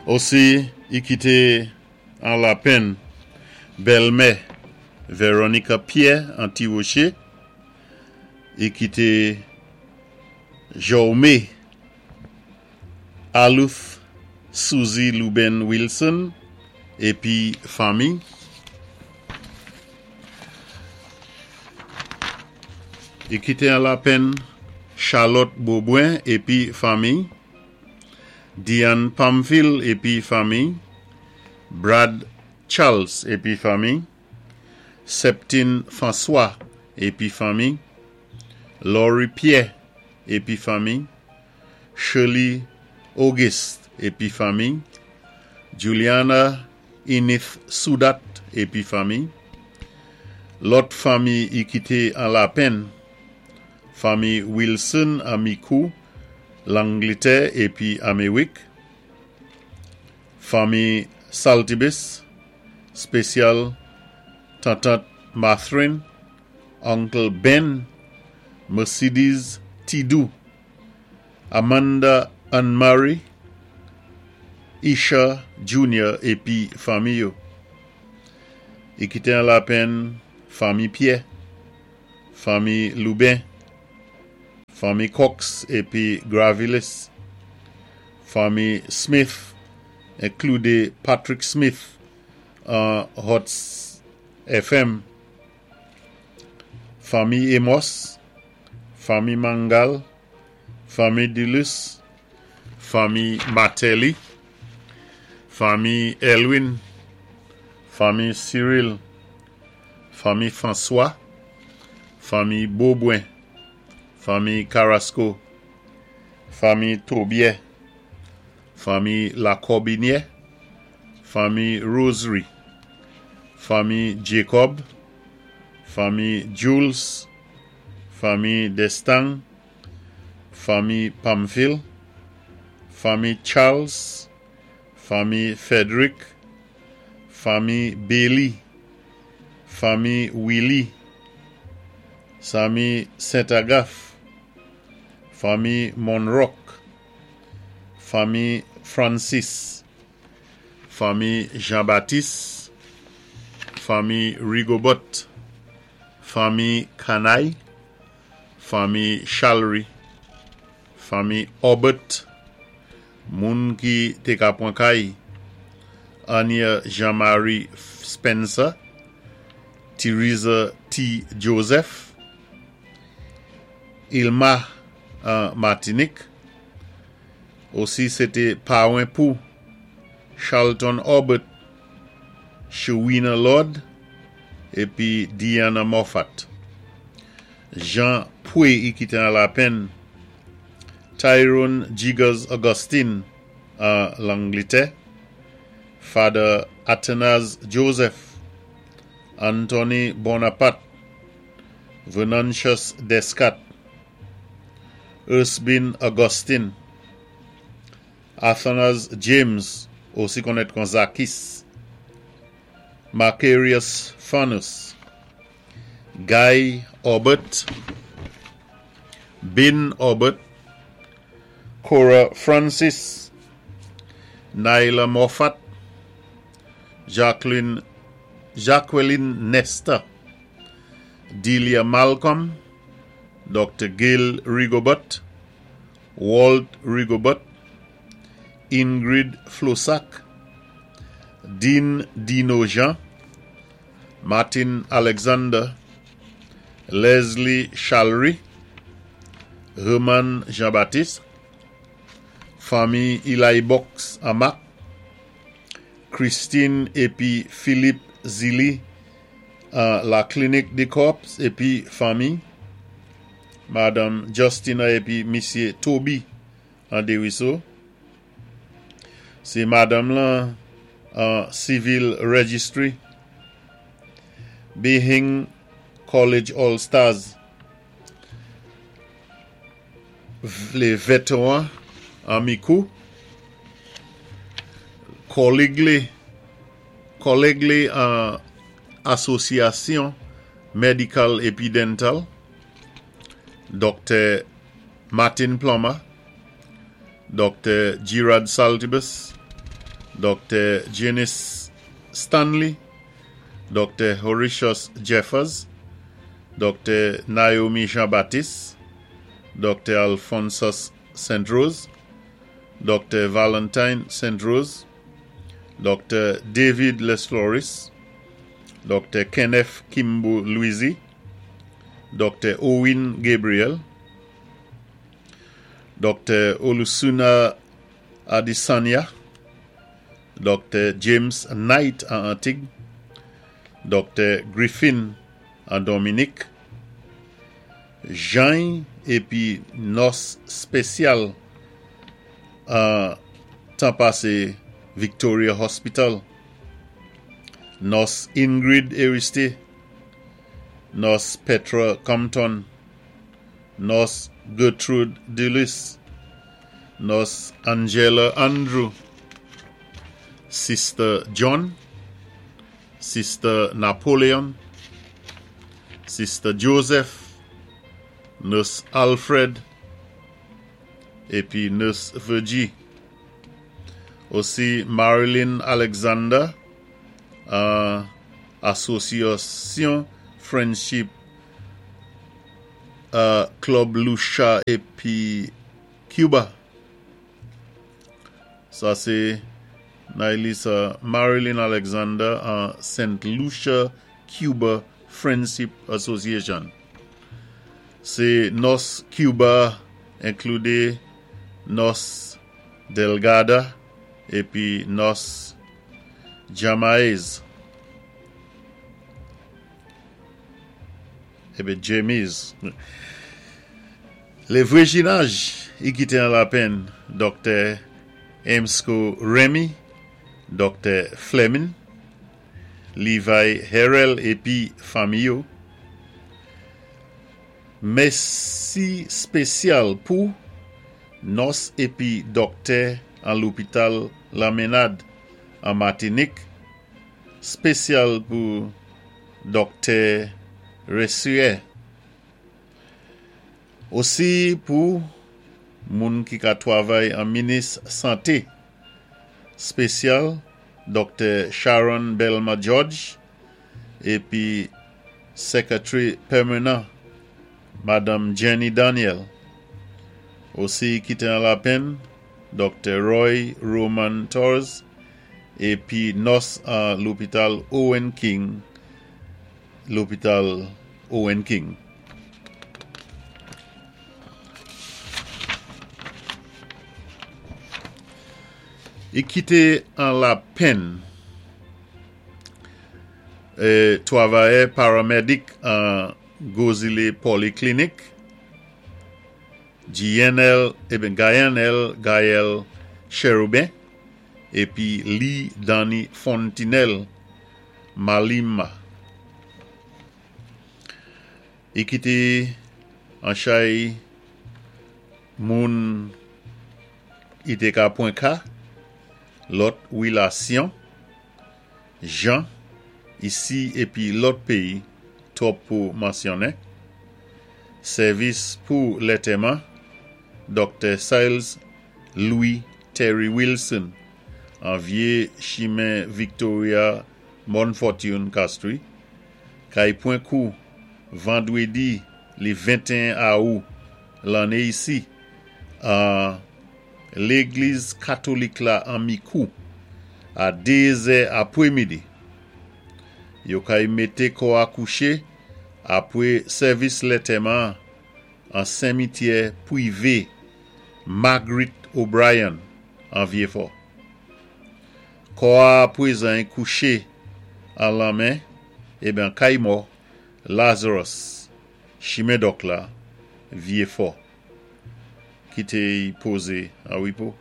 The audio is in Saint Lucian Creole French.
Osi, i kité an lapenn bèlmè Veronica Pierre an Ti Woché, i kité Jaume Aluth Suzy Luben Wilson épi fanmi. I kité an lapenn Charlotte Beaubrun épi fanmi, Diane Pamphile épi fanmi, Brad Charles épi fanmi, Septine François épi fanmi, Laurie Pierre épi fanmi, Shirley Auguste épi fanmi, Juliana Inith Soudat épi fanmi. Lòt fanmi i kité an lapenn, fanmi Wilson an Micoud, Langlitè épi Améwik, fanmi Saltibus, spésyal tantant Mathurin, Uncle Ben, Mercedes Tidou, Amanda Anne-Marie, Isha Junior épi fanmi yo. I kité an lapenn fanmi Pierre, fanmi Lubin, fanmi Cox épi Gravilis, fanmi Smith, inklude Patrick Smith an Hot FM, fanmi Amos, fanmi Mangal, fanmi Dulus, fanmi Martelly, fanmi Elwin, fanmi Cyril, fanmi François, fanmi Beaubrun, fanmi Carrasco, fanmi Tobier, fanmi Lacorbinière, fanmi Rosary, fanmi Jacob, fanmi Jules, fanmi Destang, fanmi Pamphile, fanmi Charles, fanmi Frederick, fanmi Bailey, fanmi Willy, fanmi Saint-Agathe, fanmi Monrock, fanmi Francis, fanmi Jean-Baptiste, fanmi Rigobot, fanmi Kanay, fanmi Chalry, fanmi Obert, moun ki té ka pwan kay, Anya Jean-Marie Spencer, Theresa T. Joseph, Ilma an Martinique, osi sé té pawen pou Charlton Obert, Shewina Lord, épi Diana Moffat. Jean Poué i kité an lapenn, Tyrone Jiggers Augustine an Langlitè, Father Athanase Joseph, Anthony Bonaparte, Venantius Descat, Ersbin Augustine, Athanase James, osi konnèt kon Zakis, Macarius Fanus, Guy Obert, Bin Obert, Cora Francis, Naila Moffat, Jacqueline, Jacqueline Nesta, Delia Malcolm, Dr. Gail Rigobert, Walt Rigobert, Ingrid Flosac, Dean Dino Jean, Martin Alexander, Leslie Chalry, Herman Jean-Baptiste, fanmi Eli Box Amak, Christine épi Philippe Zilli an la Clinique des Corps épi fanmi, Madame Justina épi Misyé Toby an Desruisseaux. Sé madanm lan an Civil Registry, Behing College All Stars, lé vétéwan an Micoud, kòlèg li, kòlèg li an Asosyasyon Medical épi Dental, Dr. Martin Plummer, Dr. Gerard Saltibus, Doktè Janice Stanley, Doktè Horatius Jeffers, Doktè Naomi Jean Baptiste, Doktè Alphonsus St. Rose, Doktè Valentine St. Rose, Doktè David Lesfloris, Doktè Kenneth Kimbo Louisy, Doktè Owen Gabriel, Doktè Olusuna Adesanya, Doktè James Knight an Antig, Doktè Griffin an Dominik, Jany épi nòs spésyal an tan pasé Victoria Hospital, Nòs Ingrid Eristé, Nòs Petra Compton, Nòs Gertrude Dulus, Nòs Angela Andrew, Sister John, Sister Napoleon, Sister Joseph, Nurse Alfred, épi Nurse Virgie. Osi Marilyn Alexander an Asosyasyon Friendship Club Lucia épi Cuba. Sa sé Nailisa Marilyn Alexander an St. Lucia Cuba Friendship Association. Sé nòs Cuba enkludé nòs Delgada épi nòs Jamaez. Épi Jamies. Lé vwéjinaj i kité an lapenn Doktè Emsco Remy, Doktè Fleming, Levi Herel épi fanmi yo. Mèsi spésyal pou nòs épi dòktè an lopital Lamenad an Matinik, spésyal pou Doktè Resue. Osi pou moun ki ka twavay an minis santé, spésyal Doktè Sharon Belma George épi Secretary pèmanan Madanm Jenny Daniel. Osi ki té an lapenn Doktè Roy Roman Torres épi nòs an lopital Owen King lopital Owen King. I kité an lapenn twavayè paramèdik an Gwo Zilé Polyclinic, Gienel eben Gayanel Gaël Cherubin épi Lee Danny Fontinelle Malima. I kité an chay moun i té ka pwan ka, lòt wilasyon, jan, isi épi lòt péyi twòp pou mansyonnen. Sèvis pou lètèman, Doktè Siles Louis Terry Wilson an Vyé Chimen Victoria Morne Fortune Castries, kay pwan kou vandwédi li 21 Awou lanné isi an Légliz Katolik la an Mikou a 2 zè apwémidi. Yo kay mété kò a kouché apwé sèvis lètèman an senmityè pwivé Marguerite O'Brien an Vyéfò. Kò a apwézan kouché an lanmè eben kay mò Lazarus chimen dòk la Vyéfò. Kité y pozé an wipo.